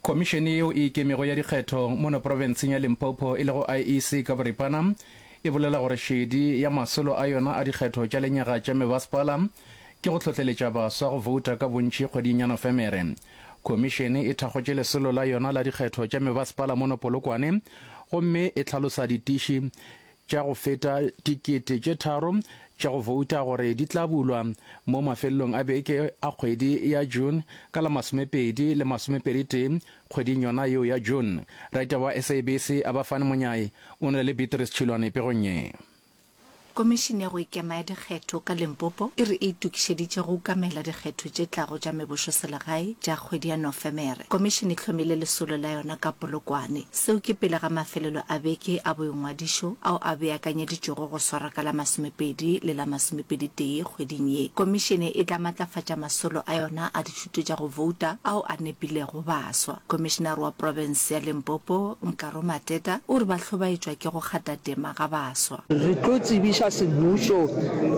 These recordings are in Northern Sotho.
Khomišene yeo e ikemego ya dikgetho mono profenseng ya Limpopo e lego IEC ka boripana e bolela gore šedi ya masolo a yona a dikgetho tša lenyaga tša mebasepala ke go hlohleletša baswa go bouta ka bontši kgweding ya Nofemere. Khomišene e thakgotše lesolo la yona la dikgetho tša mebasepala mono Polokwane gomme e hlalosa ditiši tša go feta 3000 tša go bouta gore di tla bulwa mo mafelelong a beke a kgwedi ya June ka la masomepedi le masomepeditee kgweding yona yeo ya June. Raitaba wa SABC Abafani Monyai o na le Beatrice Tšhilwane pegong ye. Komišene ya go Ikema ya Dikgetho ka Limpopo e re e itokišeditše go ukamela dikgetho tše tlago tša mebošoselegae tša kgwedi ya Nofemere. Komišene e hlomile lesolo la yona ka Polokwane. Seo ke pele ga mafelelo a beke a boingwadišo ao a beakanyeditšwego go swarwa ka la masomepedi le la masomepeditee kgweding ye. Komišene e tla matlafatša masolo a yona a dithuto tša go bouta ao a nepilego baswa. Komišenare wa profense ya Limpopo, Nkaro Mateta, o re ba hlobaetšwa ke go kgatha tema ga baswa. Re tlo tsebiša semmušo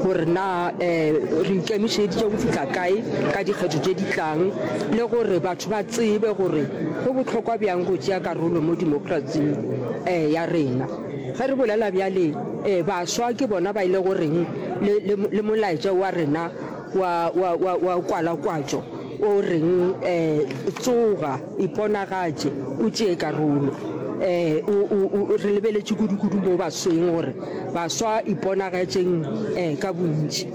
gore na re ikemišeditše go fihla kae ka dikgetho tše di tlang le gore batho ba tsebe gore go bohlokwa bjang go tšea karolo mo demokrasing ya rena. Ge re bolela bjale, baswa ke bona ba e le goreng le molaetša wa rena wa, wa, wa, wa kwalakwatšo o reng, Tsoga, iponagatše, o tšee karolo. O, o, o, re lebeletše kudu-kudu mo basweng gore baswa iponagatšeng ka bontši.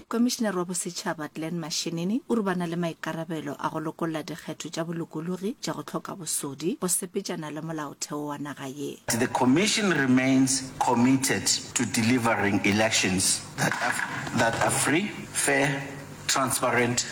Komišinare wa Bosetšhaba Glen Mashinini o re ba na le maikarabelo a go lokolla dikgetho tša bolokologi tša go hloka bosodi go sepetšana le molaotheo wa naga ye. The Commission remains committed to delivering elections that are, that are free, fair, transparent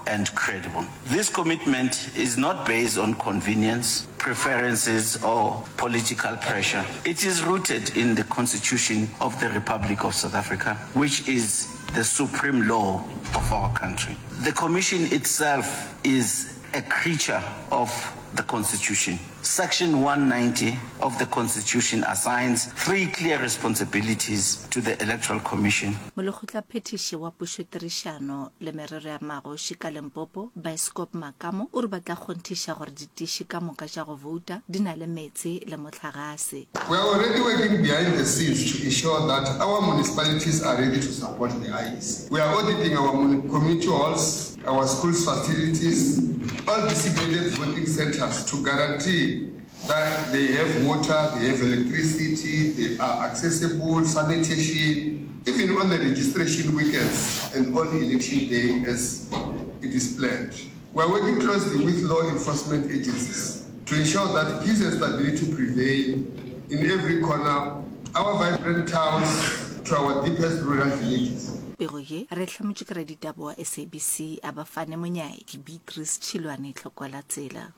and credible. This commitment is not based on convenience, preferences or political pressure. It is rooted in the Constitution of the Republic of South Africa, which is the supreme law of our country. The Commission itself is a creature of the Constitution. Section 190 of the Constitution assigns three clear responsibilities to the Electoral Commission. Molekgotlaphethiši wa Pušotirišano le Merero ya Magoši ka Limpopo, Biskop Makamo, o re ba tla kgonthiša gore ditiši ka moka tša go bouta di na le meetse le mohlagase. We are already working behind the scenes to ensure that our municipalities are ready to support the IEC. We are auditing our community halls, our schools facilities, all designated voting centers to guarantee that they have water, they have electricity, they are accessible, sanitation, even on the registration weekends and on election day as it is planned. We are working closely with law enforcement agencies to ensure that peace and stability prevail in every corner our vibrant towns to our deepest rural villages. Pego ye re e hlamotše ke raditaba wa SABC Abafane Monyai ke Beatrice Tšhilwane Tlhokwala Tsela.